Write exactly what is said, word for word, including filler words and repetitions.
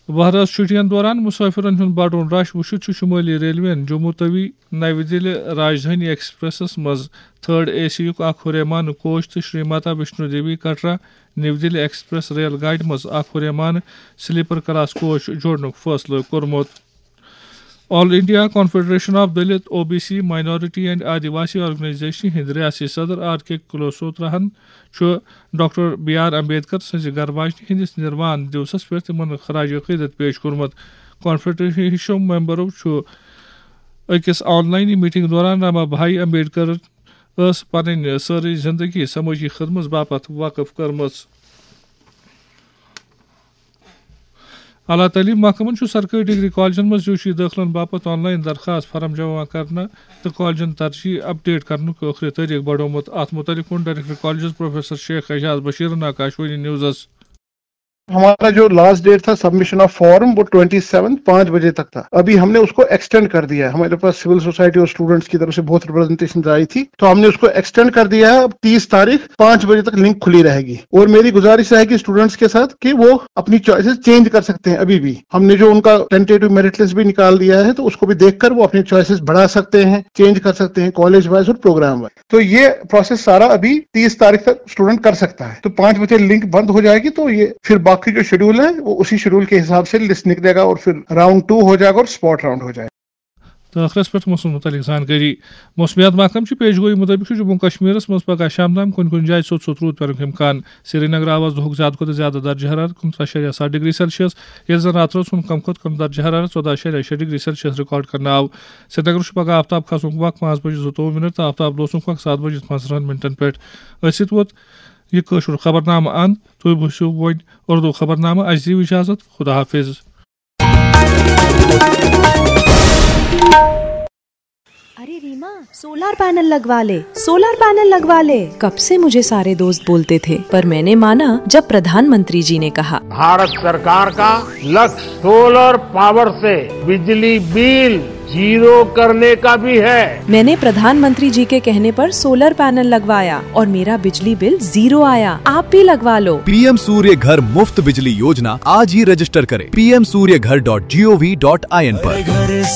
بہرس چھُٹین دوران مسافرن ہُنٛد بڑُن رش وُچھِتھ چھُ شمٲلی ریلوین جموں توی نَوِ دِلہِ راجدھانی ایکسپریسس منٛز تھرڈ اے سی یُک اکھ ہُریمانہٕ کوچ تہٕ شری ماتا ویشنو دیوی کٹرا نِو دِلہِ ایکسپریس ریل گاڑِ منٛز اکھ ہُریمانہٕ سلیپر کلاس کوچ جوڑنُک فٲصلہٕ کوٚرمُت۔ All India confederation of Dalit, O B C, minority and Adivasi organisation ہٕنٛدۍ ریاستی صدر آر کے کلوسوتراہن چھُ ڈاکٹر بی آر امبیڈکر سٕنٛزِ گرٕ واجنہِ ہٕنٛدِس نِروان دیوسس پٮ۪ٹھ تِمن خراج عقیدت پیش کوٚرمُت۔ کانفیڈریشن ممبرو چھُ أکِس آن لاین میٹنگ دوران راما بھائی امبیڈکر ٲس پنٕنۍ سٲرٕے زندگی سمٲجی خدمژ باپتھ وقف کٔرمٕژ۔ اعلیٰ تعلیٖم محکمَن چھُ سرکٲرۍ ڈگری کالجن منٛز یوٗ جی دٲخلن باپتھ آن لاین درخاست فارم جمع کرنہٕ تہٕ کالجن ترجیح اپڈیٹ کرنُک ٲخری تٲریخ بڑومُت۔ اتھ مُتعلِق ووٚن director colleges professor Sheikh Ejaz بشیرن آکاشوانی نیوزس۔ ہمارا جو لاسٹ ڈیٹ تھا سبمشن آف فارم، وہ ٹوئنٹی سیون پانچ بجے تک تھا۔ ابھی ہم نے اس کو ایکسٹینڈ کر دیا ہے۔ ہمارے پاس سول سوسائٹی اور اسٹوڈنٹس کی طرف سے بہت ریپرزنٹیشن آئی تھی، تو ہم نے اس کو ایکسٹینڈ کر دیا ہے۔ اب تیس تاریخ پانچ بجے تک لنک کھلی رہے گی۔ اور میری گزارش رہے گی اسٹوڈنٹس کے ساتھ کہ وہ اپنی چوائسز چینج کر سکتے ہیں ابھی بھی۔ ہم نے جو ان کا ٹینٹیٹو میرٹ لسٹ بھی نکال دیا ہے، تو اس کو بھی دیکھ کر وہ اپنی چوائسز بڑھا سکتے ہیں، چینج کر سکتے ہیں کالج وائز اور پروگرام وائز۔ تو یہ پروسیس سارا ابھی تیس تاریخ تک اسٹوڈنٹ کر سکتا ہے۔ تو پانچ بجے لنک بند ہو جائے گی، تو یہ پھر باقی جو شیڈول ہے، وہ اسی شیڈول کے حساب سے لسٹ نکلے گا اور پھر راؤنڈ ٹو ہو جائے گا اور اسپاٹ راؤنڈ ہو جائے گا۔ تہٕ ٲخرس پٮ۪ٹھ موسمس مُتعلِق زانکٲری۔ موسمیات محکمہٕ چہِ پیشگویی مُطٲبِق چھُ جموں کشمیرس منٛز پگاہ شام تام کُنہِ کُنہِ جایہِ ژوٚٹ ژوٚٹ روٗد پینُک امکان۔ سرینگر آو آز دۄہُک زیادٕ کھۄتہٕ زیادٕ درجہٕ حرارت کُنترٕہ شیٚیہِ ستھ ڈگری سیلسیس، ییٚلہِ زن راتہٕ رٲژ ہُنٛد کم کھۄتہٕ کم درجہٕ حرارت ژۄداہ شیٚیہِ شیٚیہِ ڈگری سیلسیس ریکارڈ کرنہٕ آو۔ سرینگر چھُ پگاہ آفتاب کھسنُک وق پانٛژھ بجہِ زٕتووُہ منٹ تہٕ آفتاب لوسنُک وق ستھ بجہِ پانٛژترٕہن منٹن پٮ۪ٹھ۔ أتھۍ سۭتۍ ووت یہِ کٲشُر خبرنامہٕ اند۔ تُہۍ بوٗزِو وۄنۍ اردو خبرنامہٕ۔ اَسہِ دِیِو اجازت۔ خدا حافظ۔ अरे रीमा, सोलर पैनल लगवा ले, सोलर पैनल लगवा ले। कब से मुझे सारे दोस्त बोलते थे, पर मैंने माना जब प्रधानमंत्री जी ने कहा। भारत सरकार का लक्ष्य सोलर पावर से बिजली बिल जीरो करने का भी है। मैंने प्रधानमंत्री जी के कहने पर सोलर पैनल लगवाया और मेरा बिजली बिल जीरो आया। आप भी लगवा लो। पीएम सूर्य घर मुफ्त बिजली योजना, आज ही रजिस्टर करें पीएम सूर्य घर डॉट जीओवी डॉट आईएन पर।